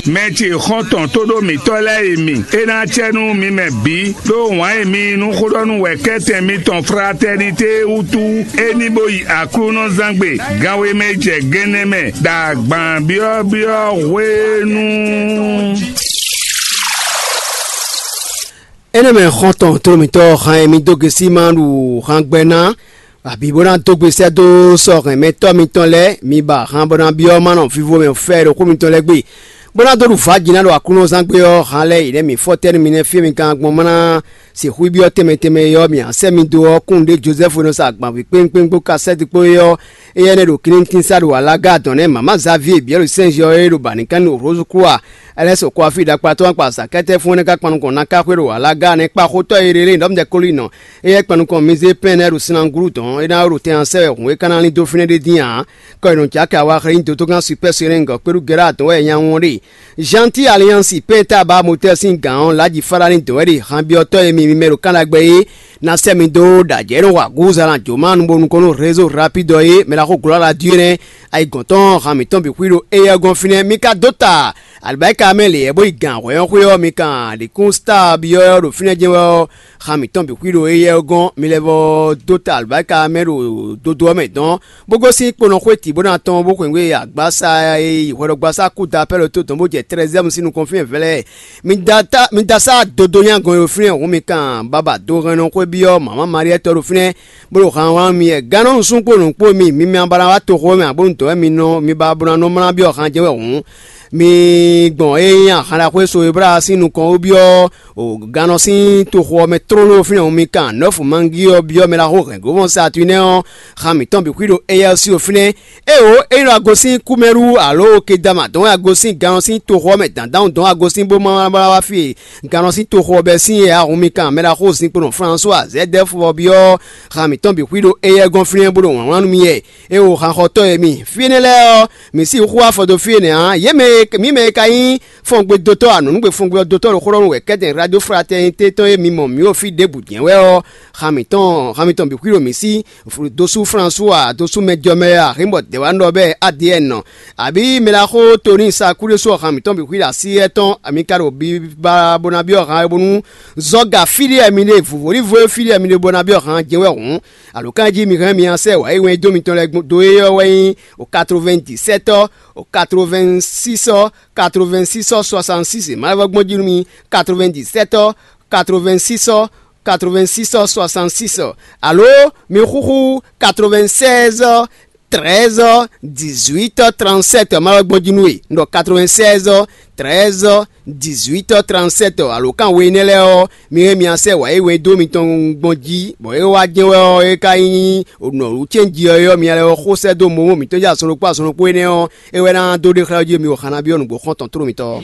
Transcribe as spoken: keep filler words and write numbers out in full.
Mɛ ce xɔ́ntɔn tóɖó mǐtɔn lɛ́ɛ e mi, é ná acɛ nú mi mɛ bǐ, ɖó wǎn e mi yí nú xóɖɔ́nú wɛ kɛ́tɛn mitɔn Fratɛnité wútu é ní bó yi Aklúnɔzángbe ganwe mɛ jɛ gɛnɛ mɛ ɖo agban byɔ́byɔ́ hwenu. Énɛ́ mɛ xɔ́ntɔn tlóló mǐtɔn han e mi dó gosín ma ɖu han gbɛ ná, abǐ bó ná dó gbe sɛ́ dó sɔ́ hɛn mɛtɔ́ mitɔn lɛ́ɛ, mi ba han bó ná byɔ́ ma nɔ vivo mɛ fɛ ɖo xó mitɔn lɛ́ɛ gbe, bó ná dó ɖu vǎ jǐ ná ɖo Aklúnɔzángbe ɔ́, han lɛ́ɛ yě nɛ́ mǐ fɔ́tɛ́ nú mi nɛ́ fí e mi ka gbɔn má ná sixú byɔ́ tɛnmɛ tɛnmɛ é ɔ́, mǐ a sɛ́ mi dó ɔ́, kún ɖě Jozɛ́fu e nɔ sa agbanví kpéŋkpéŋ kpó kasɛ́ti kpó é ɔ́, éyɛ́ nɛ́ ɖo kínnítín sá ɖo alága dɔn nɛ́ mǎmá Zavíe Biɛ́lu Sɛ́nziyɔ e ɖo bǎ ní kán nú Rose Kúa, Ɛlɛ́sɔ Kɔafí ɖakpatɔ́ akpa Zaakɛ́tɛ́ fún énɛ́ ka kpan nukɔn ná ká xwé ɖo alága nɛ́ kpá xótɔ́ e ɖe lé nyǐɖɔmɛdɛkólinɔ, éyɛ́ kpan nukɔn Mizépɛ́n lɛ́ɛ ɖo Sinangúlu dɔn, é ná ɖo tɛn ɔ́ sɛ wɛ hǔn e ka ná lín dó fínɛ́ ɖé dín ǎ. Kɔ e nɔ jǎ kɛ awa xlɛ́ nyí dotó gán Supɛ́ Serɛ́n gɔ̌ kpéɖú Gɛ́ra dɔn wɛ nya wɔn ɖe. Janti Aliyansi pɛ́n ta ba motɛ́ sín gǎn ɔ́, Laji Falani dɔn wɛ ɖe hanbyɔ́tɔ́ e mi mi mɛ ɖo kán ɖagbe é ná sɛ́ mi dó ɖo ajɛ̌ nɔ wa gǔzan ná jǒ má nu bo nukɔn nú rézo rapidɔ é mɛ ɖaxó glɔ́ la dú é nɛ́. Ayigɔ̌n tɔn han mǐtɔn bǐ xwí ɖo éyɛ́ gɔ́n fínɛ́, mi ka dó ta alibáyika mɛ lě yɛ bó yi gǎn hwɛ́ ɔ́ xwé ɔ́, mi kan ɖě kún star byɔ́ ɔ́ ɖo fínɛ́ jɛ́n wɛ ɔ́, han mǐtɔn bǐ xwí ɖo éyɛ́ ɔ́ gɔ́n, mi lɛ́ vɔ dó ta alibáyika mɛ ɖo dodo ɔ́ mɛ dɔn, bó gosín kponɔ xwé tǐ bó ná tɔn bó xweyǐgbe agbasa e yi hwɛɖɔgbasá kúda pɛ́ ɖo tó dɔn bó jɛ Trɛzɛ́mu sín nukɔn fínɛ́ vɛlɛ́. Mi da ta mi da sá dodo nyagɔn e ɖo fínɛ́ hǔn mi kan baba do hɛn nɔ xwé byɔ́ mama Mariɛ́ tɔ́ ɖo fínɛ́, bó ɖo han wlán mi yɛ gannɔ nusún kpó nǔ kpó mi mi mi ba ná wá toxo mɛ abo nǔ dɔn wɛ mi nɔ mi ba bó ná nɔ mlá byɔ́ han jɛ́n wɛ hǔn. Mi gbɔn e nyí ahan ɖaxó e so e blá sín nukɔn wú byɔ́ o gannɔ sín toxo ɔ́ mɛ tlóló fínɛ́ hǔn mi kan nɔ́fu mangi ɔ́ byɔ́ mɛ ɖaxó hɛ̌ngovɔ́n Saatúnɛ ɔ́, han mǐtɔn bǐ xwí ɖo éyɛ́ ɔ́ sí o fínɛ́. Ée o é nɔ agosín kúmɛɖú alo kedama dɔn wɛ agosín gannɔ sín toxo ɔ́ mɛ dǎndán dɔn agosín bó ma wá wá fí e gannɔ sín toxo ɔ́ bɛ́ sín é ǎ, hun mi kan mɛ ɖaxó zinkpo nɔ Flannzua Zɛdɛ́fu ɔ́ byɔ́ han mǐtɔn bǐ xwí ɖo éyɛ́ gɔ́n fínɛ́ bó ɖo wlǎnwlán nú mi wɛ. Ée o hanxɔtɔ́ e mi fí énɛ́ lɛ́ɛ ɔ́, mǐ sixú wá afɔ dó fí énɛ́ ǎ. Yě mɛ e mǐ mɛ e ka nyí fɔngbe dotɔ́ anɔ̌nugbe fɔngbe ɔ́ dotɔ́ ɖo xó ɖɔ nú wɛ kɛ́tɛn radio fraternité tɔn e mi mɔ mǐ ɖo fí ɖěbǔ jɛ́n wɛ ɔ́, han mǐtɔn han mitɔn bǐ xwí ɖo mǐ sí. Dosú Flannzua, dosú mɛjɔmɛ Ahinbɔ Dɛwanɔ bɛ Adiyɛn nɔ, abǐ mɛ ɖaxó Toni Sakulésú ɔ́, han mǐtɔn bǐ xwí ɖo así étɔn, mi ka ɖo biba bó ná byɔ́ han bónú zɔ́ga fí ɖé mi ɖe vǔvɔ́lívo e fí ɖé mi ɖe bó ná byɔ́ han jɛ́n wɛ hǔn. Alǒkanjí mi hɛn mi nya sɛ́ wǎ yi wɛn dó mitɔn lɛ́ɛ dó é ɔ́ wɛ nyí o quatre-vingt-dix-sept ɔ́, o quatre-vingt-six ɔ́, quatre-vingt-six ɔ́, soixante-six, ma lɛ́ vɔ gbɔn jí nú mi, quatre-vingt-dix-sept ɔ́, quatre-vingt-six ɔ́, quatre-vingt-six ɔ́, soixante-six ɔ́, alo mi xúxú quatre-vingt-seize ɔ́, treize ɔ́, dix-huit ɔ́, trente-sept ɔ́, ma wɛ gbɔn jí nú we. Un ɖɔ quatre-vingt-seize ɔ́, treize ɔ́, dix-huit ɔ́, trente-sept ɔ́, alo kan we énɛ́ lɛ́ɛ ɔ́, mi e mi asɛ wǎ e wɛn dó mitɔn gbɔn jí, bɔ é wá jɛ́n wɛ ɔ́, é ka nyí nɔ̌ɖu cɛ́nji ɔ́ é ɔ́, mi lɛ́ ɔ́ xó sɛ́ dó momo mǐtɔn jɛ azɔn ɖokpó azɔn ɖokpó énɛ́ ɔ́, é wɛ ná dó ɖe xlɛ́ jí mi o xana byɔ́ nǔgbó xɔ́ntɔn tló mitɔn.